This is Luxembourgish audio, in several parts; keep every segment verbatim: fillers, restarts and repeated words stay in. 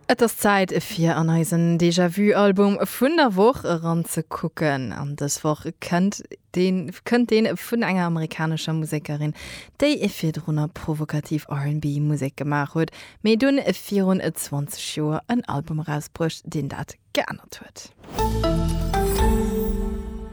Et ass Zäit fir an eisen Déjà-vu-Album vun der Woch eranzekucken. An dës Woch kënnt deen, kënnt deen vun enger amerikanescher Musekerin, déi virdrunner provokativ R and B-Musek gemaach huet, mee dunn virun zwanzeg Joer en Album erausbruecht, deen dat geännert huet.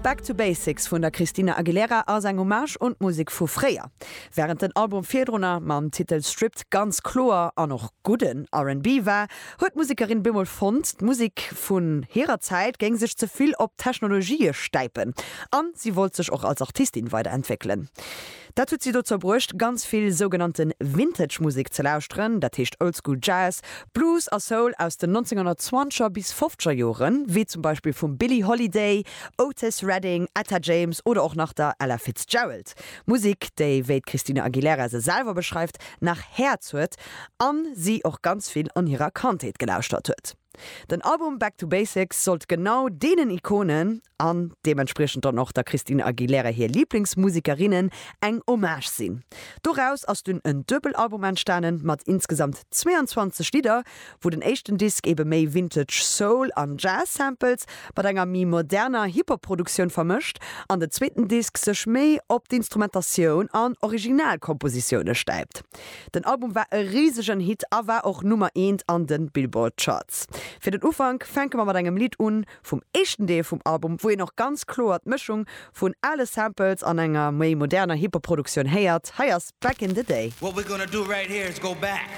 Back to Basics vun der Christina Aguilera ass eng Hommage un d'Musek vu fréier. Wärend den Album virdrunner mam Titel Stripped ganz kloer an och gudden R and B war, huet d'Musekerin bemol fonnt, d'Musek vun hirer Zäit géing sech ze vill op Technologië stäipen. An si wollt sech och als Artistin weiderentwéckelen. Dat huet si dozou bruecht, ganz vill sougenannte Vintage-Musek ze lauschteren, dat heescht Oldschool Jazz, Blues a Soul aus den nonzénghonnertzwanzeger bis fofzeger Joren, wéi zum Beispill vum Billie Holiday, Otis Redding, Etta James oder och nach der Ella Fitzgerald. Musek, déi, wéi d'Christina Aguilera se selwer beschreift, nach Häerz huet an si och ganz vill an hirer Kandheet gelauschtert huet. Den Album Back to Basics sollt genau deenen Ikonen an deementspriechend dann och der Christina Aguilera hir Liblingsmusekerinnen eng Hommage sinn. Doraus ass dunn en Duebelalbum entstanen mat insgesamt zweeanzwanzeg Lidder, wou den éischten Disk ebe méi Vintage Soul an Jazz Samples mat enger méi moderner Hip-Hop-Produktioun vermëscht an den zweeten Disk sech méi op d'Instrumentatioun an Originalkompositioune stäipt. Den Album war e risegen Hit a war och Nummer eent an de Billboard Charts. Fir den Ufank fänke mer mat engem Lidd un vum éischten Deel vum Album, wou een och ganz kloer d'Mëschung vun ale Samples an enger méi moderner Hip-Hop-Produktioun héiert. Hei ass Back in the Day. What we're gonna do right here is go back.